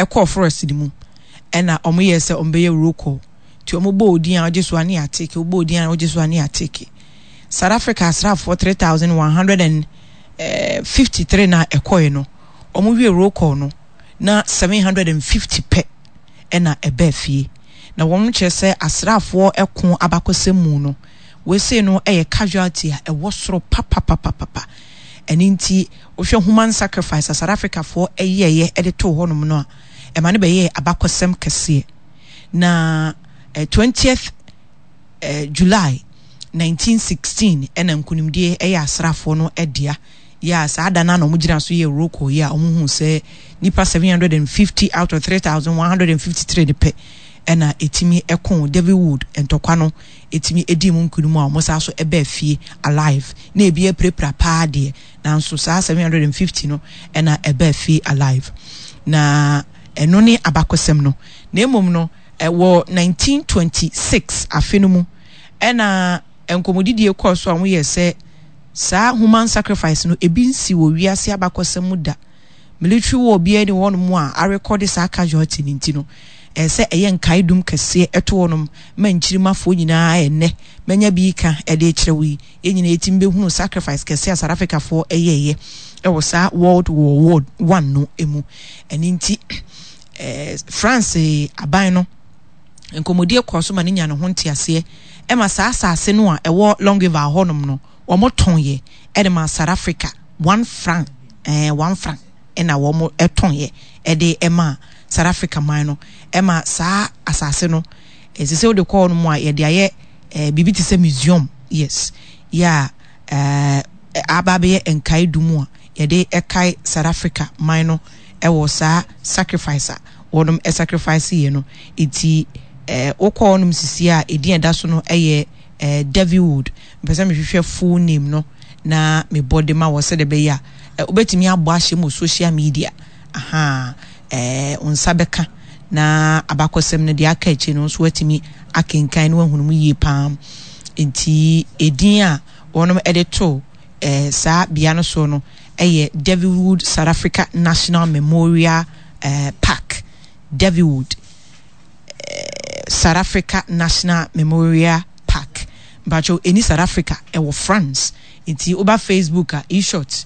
Kɔɔ forest no mu ɛna ɔmo yɛɛ sɛ ɔmo bɛyɛ roll call nti ɔmo bɔɔ odin a ɔgye so a ne yɛateke, wobɔ odin a wogye so a ne yɛateke. South Africa asraafoɔ 3153 no a ɛkɔɛ no ɔmo wie roll call no na 750 pɛ ɛna ɛbaa fie. Na wɔn kyerɛ sɛ asraafoɔ ɛko abakɔsɛm mu no wei sei no ɛyɛ casualty a ɛwɔ soro papapapapa. Ɛno nti wohwɛ human sacrifice a South Africafoɔ yɛeɛ de too hɔnom no a, ɛma no bɛyɛɛ abakɔsɛm kɛseɛ. Na 20th July 1916 ɛna nkunimdie ɛyɛ asraafoɔ no dea. Yɛ a saa da no a na wɔgyina so yɛ roll call yi a wɔhuu sɛ nnipa 750 out of 3153 no pɛ ɛna ɛtumi ɛko David Wood ntɔkwa no ɛtumi ɛdii mu nkunim a wɔn san so ɛbaa fie alive na ebi apirapira paa deɛ nanso saa 750 no ɛna ɛbaa fie alive na ɛno ne abakɔsɛm no. Na mmom no wɔ 1926 afe no mu ɛna nkɔmmɔdidie kɔɔ so a wɔyɛ sɛ saa human sacrifice no ebi nsi wɔ wiase abakɔsɛm mu da. Military war biara ni hɔnom a arekɔde saa casualty no nti no, ɛsɛ sɛ ɛyɛ nkaedum kɛseɛ ɛto hɔnom ma nkyirimafoɔ nyinaa ɛnnɛ manya bi reka ɛde rekyerɛ wo yi, yɛn nyinaa yɛtumi bɛhunu sacrifice kɛseɛ a South Africafoɔ ɛyɛeɛ ɛwɔ saa World War One no mu. Ɛno nti eh, France aban no nkɔmmɔdie kɔɔ so ma no nya ne ho nteaseɛ ɛma saa asase no a ɛwɔ Longueval hɔnom no wɔtɔn yɛ de maa South Africa 1 franc, 1 franc ɛna wɔn tɔn yɛ de maa South Africa man no. Ɛma saa asase no ɛsɛ sɛ wode kɔ hɔ nom a yɛde ayɛ biribi te sɛ museum, yes, yɛ a aba abɛyɛ nkae du mu a yɛde ɛkae South Africa man no ɛwɔ saa sacrifice a wɔnom sacrifice yɛ no. Eti wokɔ hɔnom sisi a edin ɛda so no ɛyɛ Davywood. Mpɛ sɛ mehwehwɛ full name no na mebɔ de ma wɔ sɛdeɛ ɛbɛyɛ a wobɛtumi abɔ ahyɛ mu social media aha wo nsa bɛka na abakɔsɛm no deɛ aka akyire no nso watumi akenkan na wahunu mu yie paa. Nti edin a wɔnom de to saa bea no soɔ no ɛyɛ Davywood South Africa National Memorial Park. Davywood South Africa National Memorial Park. Mpakyɛw, ɛni South Africa, ɛwɔ France. Nti woba Facebook a, eShot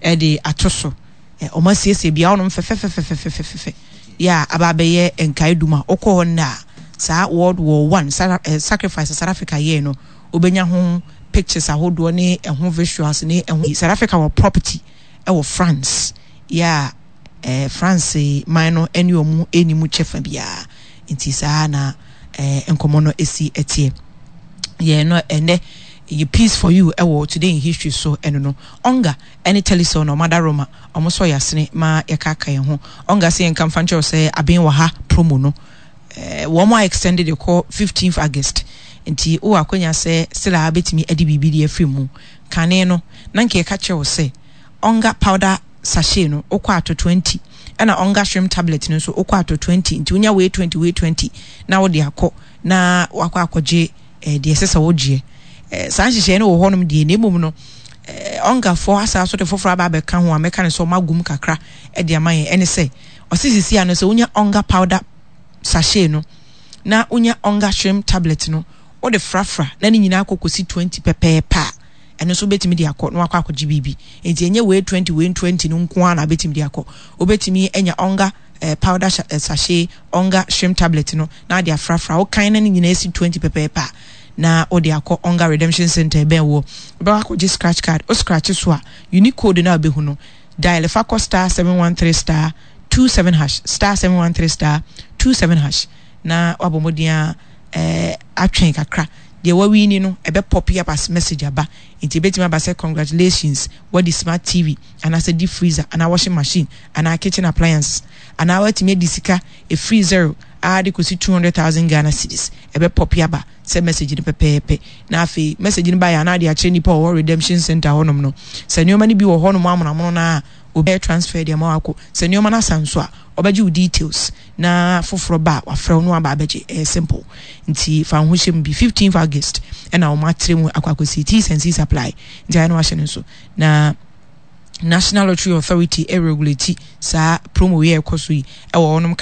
ɛde ato so. Ɔmo asiesie bea hɔnom fɛfɛfɛfɛfɛfɛfɛ yɛ a aba abɛyɛ nkaedum a wokɔ hɔ nnɛ a saa World War One sacrifice South Africa yɛɛ no wobɛnya ho pictures ahodoɔ ne ɛho visuals ne ɛho. South Africa wɔ property ɛwɔ France yɛ a France man no ne ɔmo ɛni mu kyɛfa biara. Nti saa na nkɔmmɔ no ɛsi ɛteɛ. Yɛn no ɛnɛ yɛ Peace for You ɛwɔ Today in History so. Ɛno no Onga ɛne Telecel na ɔmo roma ɔmo sɔ yɛasene ma yɛkaaka yɛn ho. Onga sɛ yɛnka mfa nkyerɛw sɛ aben wɔ ha promo no wɔn a extended kɔ 15th August, nti wowɔ akwanya sɛ still a bɛtumi ade biribi de afiri mu. Kane no na nka yɛka kyerɛ wo sɛ Onga powder sachet no wokɔ ato 20, ɛna Onga shrimp tablet no nso wokɔ ato 20. Nti wonya wei 20, wei 20 na wode akɔ na wakɔ akɔgye deɛ ɛsɛ sɛ wogyeɛ. Saa nhyehyɛeɛ no wɔ hɔnom deɛ, na mmom no Ɔngafoɔ asa so de foforɔ aba abɛka ho a mɛka no sɛ ɔma agum kakra de ama yɛn. Ɛne sɛ ɔse sisi ano sɛ wonya Ɔnga powder sachet no na wonya Ɔnga shrimp tablet no wode frafra na ne nyinaa kɔ kɔsi 20 pɛpɛɛpɛ a, ɛno nso wobɛtumi de akɔ na wakɔ akɔgye biribi. Nti ɛnyɛ wei 20, wei 20 no nko ara na wobɛtumi de akɔ. Wobɛtumi anya Ɔnga powder sachet, Ɔnga shrimp tablet no na ade afrafra wokan na ne nyinaa si 20 pɛpɛɛpɛ a na wode akɔ Ɔnga redemption center ɛbɛn wɔ wobɛkɔ akɔgye scratch card. Wo scratch so a, unique code no a wobɛhu no, dial fa kɔ *713*27#, *713*27# na wabɔ mmɔden a atwɛn kakra. Deɛ wawini no ɛbɛ pop up as message aba. Nti ebɛtumi aba sɛ congratulations, wadi smart TV anaasɛ deep freezer anaa washing machine anaa kitchen appliances anaa watumi adi sika efiri 0 a de kɔsi 200,000 Ghana cedis. Ɛbɛ pop aba sɛ message no pɛpɛɛpɛ na afei message no ba yɛ anaa de akyerɛ nipa a ɔwɔ redemption center hɔnom no sɛ nneɛma no bi wɔ hɔnom amonamono no a obɛyɛ transfer de ama wakɔ. Sɛ nneɛma no asa nso a, ɔbɛgye wo details na foforɔ ba a wafrɛ wo no aba abɛgye. Ɛyɛ simple, nti fa wo ho hyɛ mu bi. 15th August ɛna wɔn atrɛ mu akɔ akɔsi. T's and C's apply, nti ayɛ no wahyɛ no nso na National Lottery Authority ɛregulate saa promo yi a ɛkɔ so yi ɛwɔ hɔnom.